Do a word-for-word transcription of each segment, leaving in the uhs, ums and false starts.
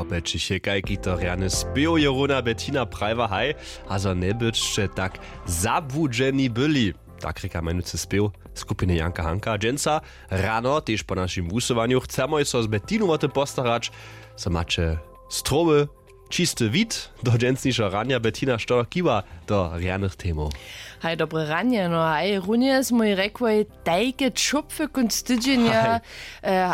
Popećichekaj kito rjany spěw je runa bettina prajwa haj, a zo njebytšće tak zabłudźeni byli, tak rěka mjenujcy spěw skupiny janka hanka dźensa. Rano tež po našim wusyłanju chcemy so z bettinu wo tym postarać, zo maće strowy, čisty wid do dźensnišeho ranja. Bettina, što kiwa do rjanych temow? Haj, dobre ranje. No haj, runje smój rekłoj, tajke čopwy kónc tydźenja.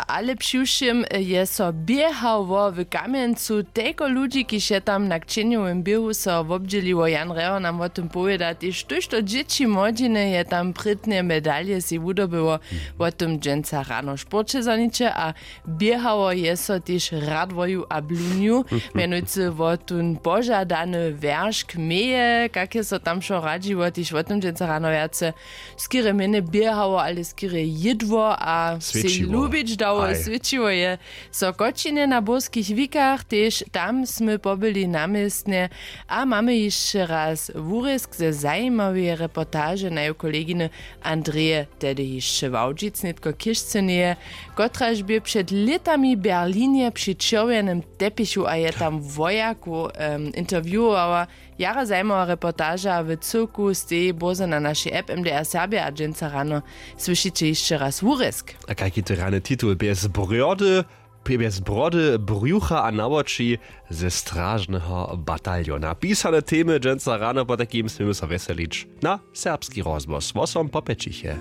Ale přiwšěm je so běhało w kamjencu, tejko ludźi kiž je tam na kćenjowym běhu so wobdźěliło. Jan reho nam wo tym powěda tež, štóž to dźěći młodźiny je tam prědnje medalje sej wudobyło. Wo tym dźensa rano w sporće zaniće a běhało je so tež radwoju a blunju, mjenujcy wo tón požadany wjeršk meje, kak je so tam wšo radźiło tež wo tym dźensa rano wjace. Skerje mjenje běhało ale skerje jědło a sej lubić dało. Swědčiło je so kočinje na burskich wikach tež tam smy pobyli na městnje. A mamy hišće raz wurězk ze zajimaweje reportaže naju koleginy andreje, tehdy hišće wałdźic nětko chěžceneje, kotraž bě před lětami w berlinje při čerwjenym tepichu a je tam wojakow interviewowała. Jara zajimawa reportaža w cyłku steji bórze na našej app mdr serbja a dźensa rano słyšiće hišće raz wurězk. A kajki to rjany titul? Bjez brody, bjez brody, brjucha a na woči ze stražneho bataljona. Pisane temy dźensa rano, potajkim směmy so wjeselić na serbski rozhłos wosom popećiche.